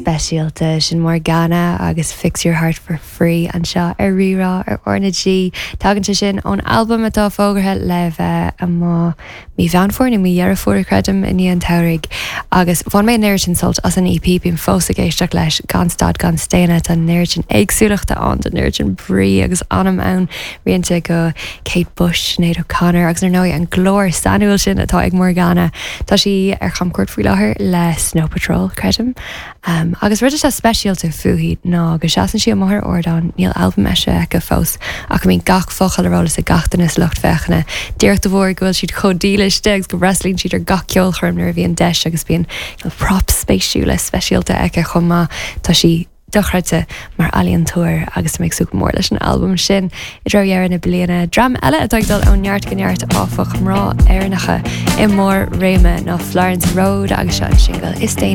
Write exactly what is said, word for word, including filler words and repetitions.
Speisialta sin Morgana agus Fix Your Heart for Free anseo ar Rí-Rá ar RnaG. Tagann sé sin ón albam atá fógartha le bheith amach mí Mheán Fómhair nó mí Dheireadh Fómhair creidim i ndiaidh an tsamhraidh. Agus bhain mé an oiread sin sult as an EP bím fós ag éisteacht leis gan stad gan staonadh tá an oiread sin éagsúlachta ann an oiread sin brí agus anam ann rianta go Kate Bush, Sinéad O'Connor agus ar ndóigh an glór sainiúil sin atá ag Morgana. Tá sí ar chamchuairt faoi láthair le Snow Patrol creidim. Um, agus rud atá speisialta fúithi ná go seasann sí amach ar ardán níl albam eisithe aici fós ach bíonn gach focal ar eolas ag gach duine sa lucht féachana. Díreach de bharr go bhfuil siad chomh dílis agus go bhfreastalaíonn siad ar gach ceolchoirm nuair a bhíonn deis agus bíonn props spéisiúla speisialta aici chomh maith tá sí dochreidte mar ealaíontóir agus mé ag súil go mór leis an albam sin i dtreo dheireadh na bliana. Dream eile atá ag dul ó neart go neart áfach mná Éireannacha i mbarr réime ná Florence Rhode agus seo an single is déanaí